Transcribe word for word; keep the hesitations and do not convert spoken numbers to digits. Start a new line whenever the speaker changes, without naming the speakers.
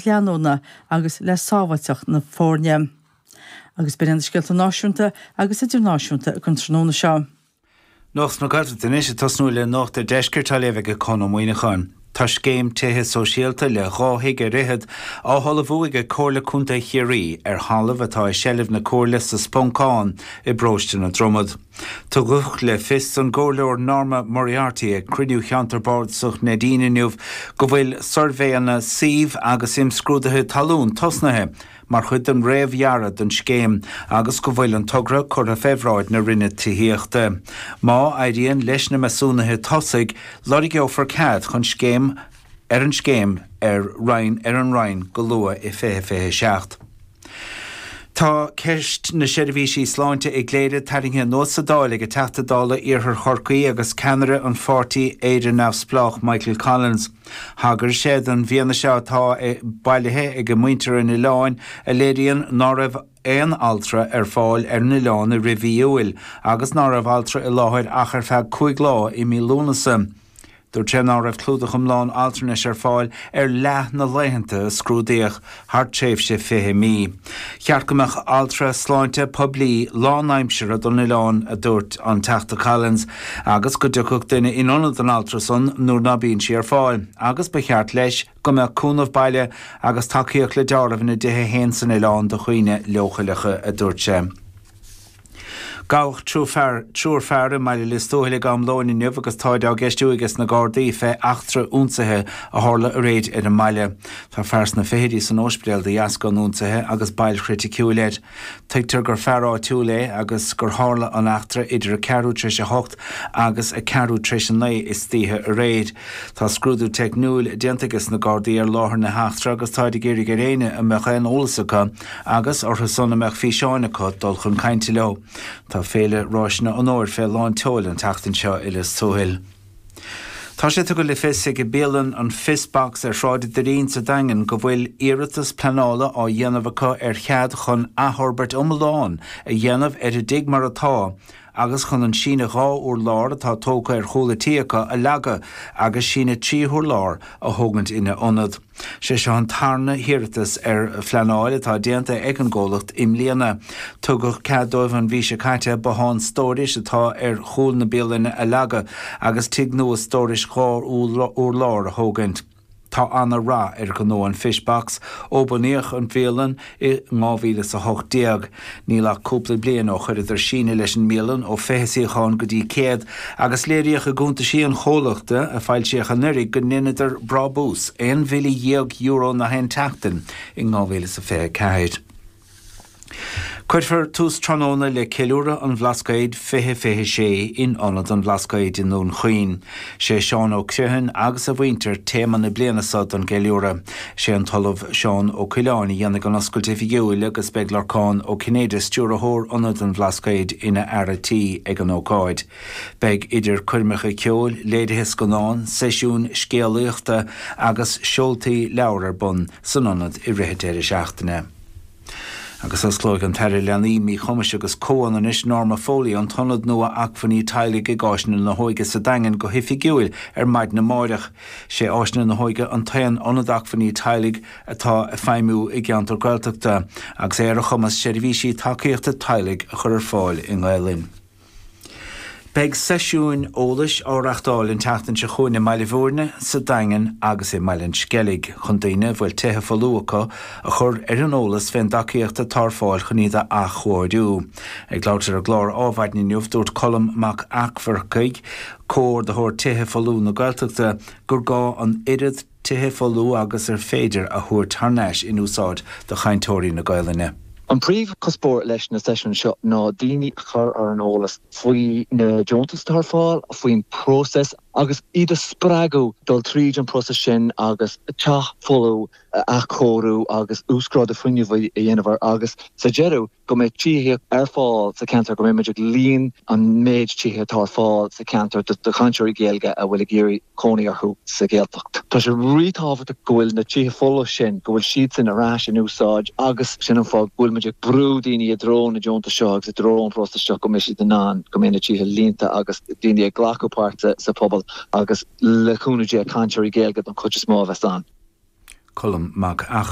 lucht leanúna agus le sábháilteacht na foirne. Agus b'in na scéalta náisiúnta agus idirnáisiúnta don tráthnóna seo.
Nuacht na Gaeltachta anois ag tosnú le Nuacht an Deiscirt á léamh ag Conn Ó Muíneacháin. Tá scéim tithe sóisialta le dhá thigh ar fhichead á hullmhú ag Comhairle Contae Chiarraí ar thalamh atá i seilbh na Comhairle sa Sponcán i bparóiste na Dromad. Tugadh le fios don gComhairleoir Norma Moriarty ag cruinniú cheantar bardasach Neidín inniu go bhfuil suirbhéanna suímh agus imscrúduithe talún tosnaithe mar chuid den réamhdhearadh don scéim agus go bhfuil an togra curtha fé bhráid na Roinne Tithíochta. Má éiríonn leis na measúnuithe tosaigh, lorgófar cead chun scéim ar an scéim ar roinn ar an Roinn go luath i fiche fiche seacht. Tá ceist na seirbhísí sláinte i gCléire tarraingthe anuas sa Dáil ag an Teachta Dála Iarthar Chorcaí agus ceannaire an pháirtí Éire Neamhspleách Michael Collins. Thagair sé don bhfianaise atá bailithe ag muintir an oileáin a léiríonn ná raibh aon altra ar fáil ar an oileán i rith mhí Iúil agus ná raibh altra i láthair ach ar feadh cúig lá i mí Lúnasa. Dúirt sé ná raibh clúdach iomlán altranais ar fáil ar leath na laethanta a scrúdaíodh thar tréimhse fiche mí. Cheart go mbeadh altra sláinte poiblí lánaimseartha don oileán a dúirt an Teachta Collins, agus go dtiocfadh duine in ionad an altra san nuair ná bíonn sí ar fáil, agus ba cheart leis go mbeadh cúnamh baile agus tacaíocht le deáramh ina dtithe féin san oileán do dhaoine leochaileacha a dúirt sé. Gabhadh triúr fear triúr fear i mBaile Lios Tuathail ag am lóin inniu agus táid á gceistiú aige sna Gardaí fé eachtra ionsaithe a tharla aréir ar an mbaile. Tá fear sna fichidí san ospidéal de dheasca an ionsaithe agus bail chriticiúil air. Tuigtear gur fear áitiúil é agus gur tharla an eachtra idir a ceathrú tar éis a hocht agus a ceathrú tar éis a naoi istoíche aréir. Tá scrúdú teicniúil déanta aige sna Gardaí ar láthair na heachtra agus táid ag iarraidh ar éinne a mbeadh aon eolas acu agus orthu san a mbeadh físeáin acu dul chun cainte leo. Tá féile Ráiseanna an Fhómhair fé lán tseoil an tseachtain seo i Lios Tuathail. Tá sé tugtha le fios ag bialann an Fishbox ar Shráid Doirín sa Daingean go bhfuil iarratas pleanála á dhéanamh acu ar chead chun athfhorbairt iomlán a dhéanamh ar a dtigh mar atá agus chun an síneadh dhá urlár atá tógtha ar chúl an tí acu a leagadh agus síneadh trí hurlár a thógaint ina ionad. Sé seo an tarna hiarratas ar phleanáil atá déanta ag an gcomhlacht i mbliana. Tugadh cead dóibh an mhí seo caite bothán stórais atá ar chúl na bialainne a leagadh agus tigh nua stórais dhá urlár a thógaint. Tá an-rath ar ghnó an Fishbox ó bunaíodh an bhialann i dhá mhíle is a hocht déag. Níl ach cúpla bliain ó chuireadar síneadh leis an mbialann ó fiche suíochán go dtí céad agus léiríodh i gcuntaisí an chomhlachta a foilsíodh anuraidh go ndeineadar brabús aon mhíle dhéag euro na haon tseachtain i dhá mhíle is a fiche ceathair. Cuirfear tús tráthnóna le ceiliúradh an Bhlascaoid fiche fiche sé in Ionad an Bhlascaoid i nDún Chaoin. Sé Seán Ó Criomhthain agus a mhuintir téama na bliana seo don gceiliúradh. Sé an tOllamh Seán Ó Coileáin a dhéanfaidh an oscailt oifigiúil agus beidh Lorcán Ó Cinnéide stiúrthóir Ionad an Bhlascaoid ina fhear tí ag an ócáid. Beidh idir coirmeacha ceoil, léirithe scannán, seisiúin scéalaíochta agus seoltaí leabhar ar bun san ionad i rith an deireadh seachtaine. Agus osclóidh an tAire Leanaí Míchumais agus Comhionannais Norma Foley an t-ionad nua acmhainní teaghlaigh ag Áiseanna na hÓige sa Daingean go hoifigiúil ar maidin amárach. Sé Áiseanna na hÓige an t-aon ionad acmhainní teaghlaigh atá ag feidhmiú i gceantar Gaeltachta agus é ar a chumas seirbhísí tacaíochta teaghlaigh a chur ar fáil i nGaelainn. Beidh seisiúin eolais á reáchtáil an tseachtain seo chugainn i mBaile Bhúirne, sa Daingean agus i mBaile an Sceilg chun daoine a bhfuil tithe folmha acu a chur ar an eolas fén dtacaíocht atá ar fáil chun iad a athchóiriú. Ag labhairt ar an gclár Adhmhaidin inniu, dúirt Colm Mac Eachmharcaigh, comhordaitheoir Tithe Folmha na Gaeltachta, gur gá an oiread tithe folmha agus ar féidir a thabhairt thar n-ais in úsáid do chainteoirí na Gaelainne.
An príomhchuspóir leis na seisiúin seo ná daoine a chur ar an eolas faoi na deontais atá ar fáil, faoin próiseas agus iad a spreagadh dul tríd an próiseas sin agus teach folamh a athchóiriú agus uasghrádú fuinnimh a dhéanamh air agus sa deireadh go mbeidh tithíocht ar fáil sa cheantar, go mbeidh muid ag líon an méid tithe atá ar fáil sa cheantar do chainteoirí Gaeilge a bhfuil ag iarraidh cónaí orthu sa Ghaeltacht. Tá sé ríthábhachtach go bhfuil na tithe folmha sin, go bhfuil siadsan ar ais in úsáid agus sin an fáth go bhfuil muid ag brú daoine i dtreo na deontais seo agus i dtreo an phróisis seo go mbeidh siad in ann, go mbeidh na tithe líonta agus daoine ag glacadh páirt sa phobal agus le cúnamh Dé cainteoirí Gaeilge don chuid is mó a bheas ann.
Colm Mac